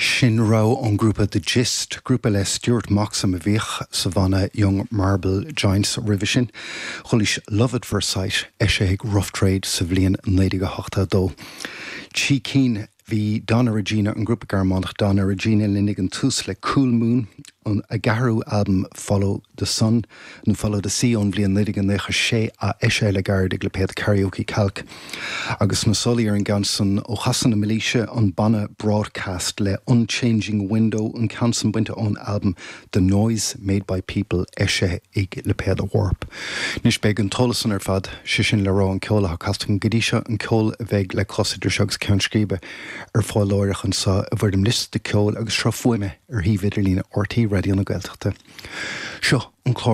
Sin rogha ón ngrúpa The Gist, grúpa le Stuart Moxham a bhíodh sa bhanna Young Marble Giants roimhe sin. Chualaís Love at First Sight, eisithe ag Rough Trade sa bhliain 1982. Trí cinn bhí Donna Regina, an grúpa Gearmánach Donna Regina linn ag an tús le Cool Moon, a gceathrú albam Follow the Sun, nó Follow the Sea ón bhliain 1996 a eisithe le gairid ag lipéad Karaoke Kalk. Agus sna sála ar an gceann san ó Chasadh na Mílaoise, an banna Broadcast le Unchanging Window, an ceann san bainte ón albam The Noise Made by People eisithe ag lipéad Warp. Anois beidh an t-eolas san ar fad, sé sin le rá an ceol atá casta agam go dtí seo, an ceol a bheidh le clos idir seo agus Ceann Scríbe, ar fáil láithreach anseo i bhfoirm liosta ceoil agus sruth fuaime ar shuíomh idirlíne RTÉ Raidió na Gaeltachta. Seo an clár.